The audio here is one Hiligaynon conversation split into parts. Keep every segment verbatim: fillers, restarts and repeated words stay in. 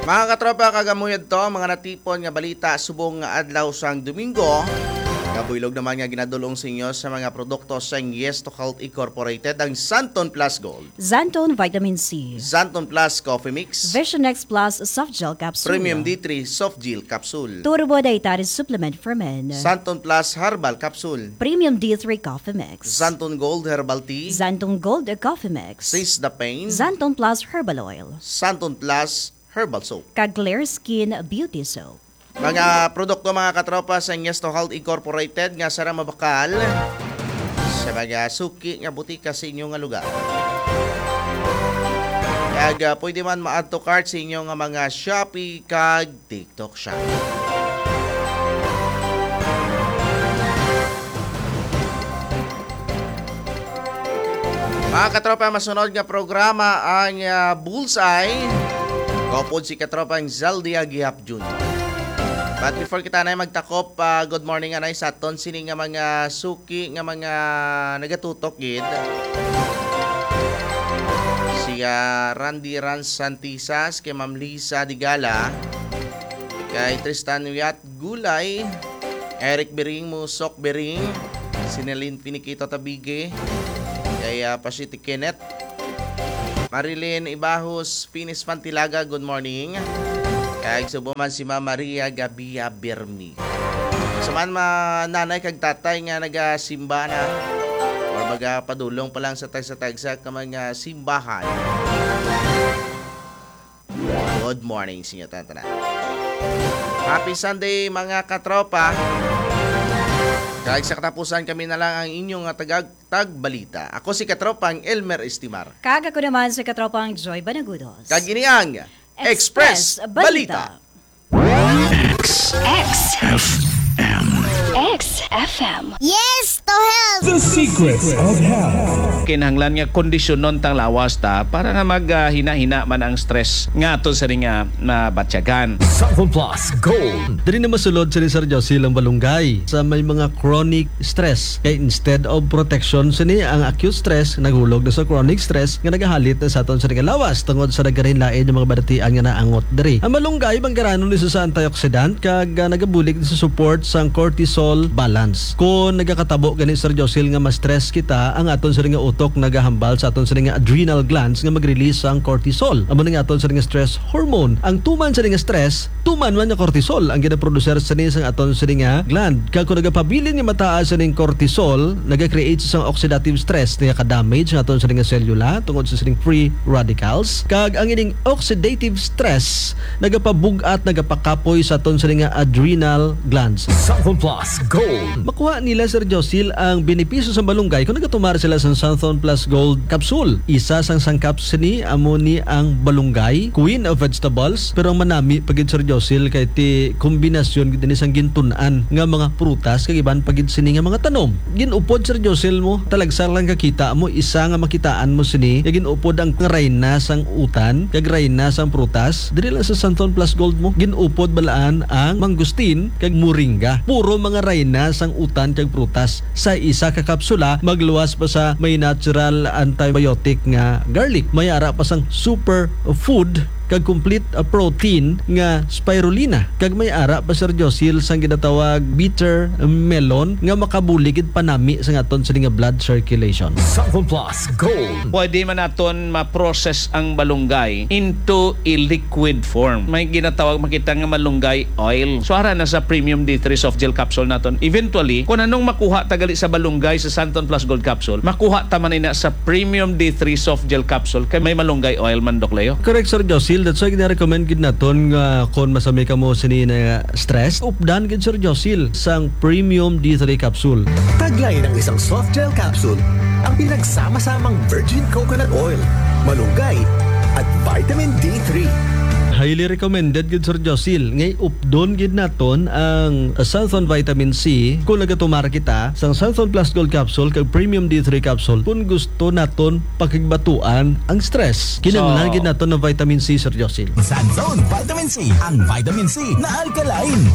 Mga katropa, kag amo yadto ang mga natipon nga balita subong nga adlaw sang Domingo. Kabuylog naman nga ginadulong sa inyo sa mga produkto sang Yes to Health Incorporated, ang Santon Plus Gold, Xanthone Vitamin C, Xanthone Plus Coffee Mix, Vision X Plus Soft Gel Capsule, Premium D three Soft Gel Capsule, Turbo Dietary Supplement for Men, Santon Plus Herbal Capsule, Premium D three Coffee Mix, Xanthone Gold Herbal Tea, Xanthone Gold Coffee Mix, Seize the Pain, Xanthone Plus Herbal Oil, Santon Plus Herbal Soap, kag Clear Skin Beauty Soap. Mga produkto, mga katropa, sa Yes to Health Incorporated nga sara mabakal sa mga suki nga butika sa inyo nga lugar. Kag, ah, pwede man ma-add to cart sa inyo nga mga Shopee kag TikTok Shop. Mga katropa, masunod nga programa ang, ah, Bullseye. Kaupod si katropang Zaldi Agihap Junior. But before kita na magtakop, ah, good morning anay sa aton sini nga mga suki nga mga nagatutok gid. Si, ah, Randy Rans Santisas, kay Ma'am Lisa Digala, kay Tristan Viat Gulay, Eric Biring, Musok Biring, Sinelin Finiquito Tabige, kay, ah, Pasiti Kenneth, Marilyn Ibahos, Finis Pantilaga, good morning. Kag subo man si Ma'am Maria Gabia Birmi. Sa man ma-, nanay kag tatay nga nagasimba na or magapadulong pa lang sa tagsa-tagsa ka mga simbahan. Good morning sa inyo tanan. Happy Sunday, mga katropa. Kag sa katapusan, kami na lang ang inyong nga tagag-, tagbalita. Ako si katropang Elmer Estimar. Kag ako naman si katropang Joy Banagudos. Kag ini ang Express Express Balita. Balita. X. X F M. X F M. Yes to health! The Secrets of Health. Kinahanglan nga kondisyonon tang lawas ta para nga mag, ah, hina-hina man ang stress nga aton sini nga nabatyagan. Santon Plus Gold. Diri na masulod sini, Sir Josil, ang balunggay sa may mga chronic stress. Kay instead of protection sini, ang acute stress naghulog na sa chronic stress nga nagahalit na sa aton sini nga lawas tungod sa nagkalain-lain nga mga balatian nga naangot diri. Ang malunggay, manggaranon ni sa antioxidant kag, ah, nagabulig sa support sang cortisol balance. Kon nagakatabo gani, Sir Josil, nga ma-stress kita, ang aton sini nga utok nagahambal sa aton sini nga adrenal glands nga mag-release sang cortisol. Amo ni nga aton sini nga stress hormone. Ang tuman sini nga stress, tuman man nga cortisol ang ginaproducer sini sang aton sini nga gland. Kag kung nagapabilin nga mataas sining cortisol, naga-create sang oxidative stress, nagaka-damage ang aton sini nga selula tungod sa sining free radicals. Kag ang ining oxidative stress nagapabug-at, nagapakapoy sa aton sini nga adrenal glands. Santon Plus Gold. Makuha nila, Sir Josil, ang benepisyo sa malunggay kung nagatumar sila sa Santon Plus Gold Capsule. Isa sang sangkap sini amo ni ang balunggay, queen of vegetables, pero ang manami pa gid, Sir Josil, kay ti kombinasyon gid ini sang gintun-an nga mga prutas kag iban pa gid sini nga mga tanom. Gin-upod, Sir Josil, mo, talagsa lang kakita mo isa nga makitaan mo sini nga gin-upod ang rayna sang utan kag rayna sang prutas. Diri lang sa Santon Plus Gold mo, gin-upod balaan ang mangustin kag moringa. Puro mga rayna sang utan kag prutas. Sa isa ka kapsula, magluwas pa sa may natural antibiotic nga garlic. May ara pa sang superfood kag complete, uh, protein nga spirulina. Kag may ara pa, Sir Josil, sang ginatawag bitter melon nga makabulig gid panami sa aton sini nga blood circulation. Santon Plus Gold. Pwede man naton ma-process ang balunggay into a liquid form. May ginatawag makita nga malunggay oil. So, ara na sa Premium D three Soft Gel Capsule naton. Eventually, kung anong makuha ta gali sa balunggay sa Santon Plus Gold Capsule, makuha ta man ina sa Premium D three Soft Gel Capsule kay may malunggay oil man, Doc Leo. Correct, Sir Josil. That's why gina-recommend gid naton nga kung masami kamo sini na stress, updan gid, Sir Josil, sang Premium D three Capsule. Taglay ng isang soft gel capsule ang pinagsama-samang virgin coconut oil, malunggay, at vitamin D three. Highly recommended gid, Sir Josil, nga updon gid naton ang Santon Vitamin C kung nagatumar kita sang Santon Plus Gold Capsule kag Premium D three Capsule kung gusto naton pakigbatuan ang stress. Kinahanglan So, gid naton ng vitamin C, Sir Josil. Santon Vitamin C, ang vitamin C na alkaline.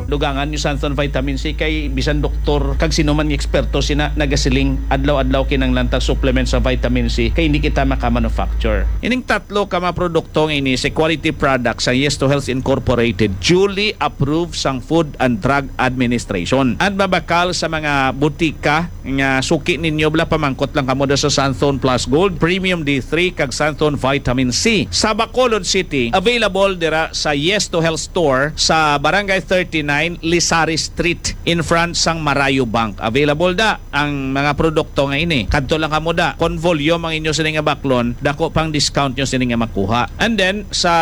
Dugangan niyo Santon Vitamin C kay bisan doktor kag sino man nga eksperto sina nagasiling adlaw-adlaw kinahanglan ta supplement sa vitamin C kay hindi kita maka-manufacture. Ining tatlo ka mga produkto nga ini sa quality product product sang Yes to Health Incorporated, duly approved sang Food and Drug Administration. And mabakal sa mga butika nga suki ninyo, bala, pamangkot lang kamo da sa Santhon Plus Gold, Premium D three, kag Santhon Vitamin C. Sa Bacolod City, available dira sa Yes to Health Store sa Barangay thirty-nine, Lisari Street, in front sang Marayo Bank. Available da ang mga produkto nga ini. Kadto lang kamo da. Kon volume ang inyo sini nga baklon, dako pang discount nyo sini nga makuha. And then, sa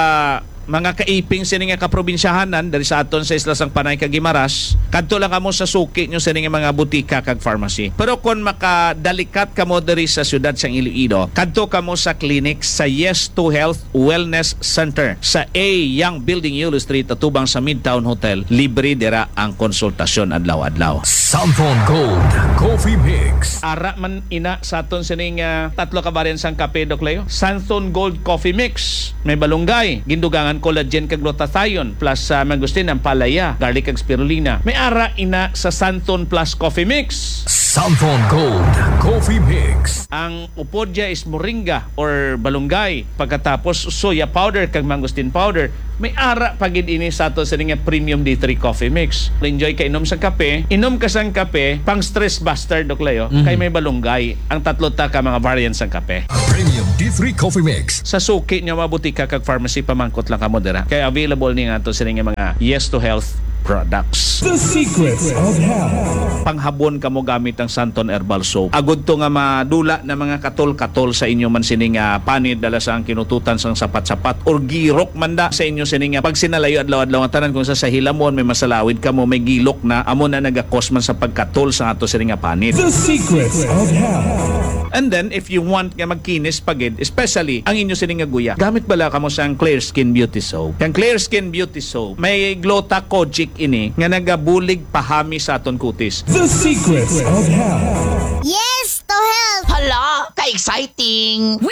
mga kaiping sini nga kaprobinsyahanan diri sa aton sa Isla sang Panay kag Guimaras, kadto lang kamo sa suki nyo sini nga mga butika kag pharmacy. Pero kon makadalikat kamo diri sa siyudad sang Iloilo, kadto kamo sa clinic sa Yes to Health Wellness Center sa A Young Building, Yulo Street, atubang sa Midtown Hotel. Libre dira ang konsultasyon adlaw-adlaw. Santhon Gold Coffee Mix. Ara man ina sa aton sining, ah, tatlo ka variant sang kape, Doc Leo. Santhon Gold Coffee Mix. May balunggay, gindugangan collagen kag glutathione, plus sa mangosteen, ampalaya, garlic kag spirulina. May ara ina sa Santhon Plus Coffee Mix. Santhon Gold Coffee Mix. Ang upod dya is moringa or balunggay, pagkatapos soya powder kag mangosteen powder. May ara pa gid ini sa ato sini nga Premium D three Coffee Mix. Enjoy ka inom sang kape, inom ka sang kape, pang stress buster, Doc Leo, Mhm. kay may balunggay ang tatlo ta ka mga variants sang kape. Premium D three Coffee Mix. Sa suki niya, mga butika kag pharmacy, pamangkot lang kamo dira. Kay available ni nga ato sini nga mga Yes to Health products. The Secrets of Health. Panghabon kamo gamit ang Santon Herbal Soap. Agud to nga madula na mga katol-katol sa inyo man sini nga panid, dala sa ang kinututan sang sapat-sapat or girok man da sa inyo sini nga pagsinalayo adlaw-adlaw nga tanan, kung sa, sa hilamon may masalawid kamo, may gilok na, amo na nagakos man sa pagkatol sa ato sini nga panid. The Secrets of Health. And then, if you want nga magkinis pa gid, especially ang inyo sini nga guya, gamit bala kamo sang Clear Skin Beauty Soap. Ang Clear Skin Beauty Soap, may gluta kojic ini nga nagabulig pahami sa aton kutis. The Secrets of Health. Yes to health! Hala, ka-exciting! Win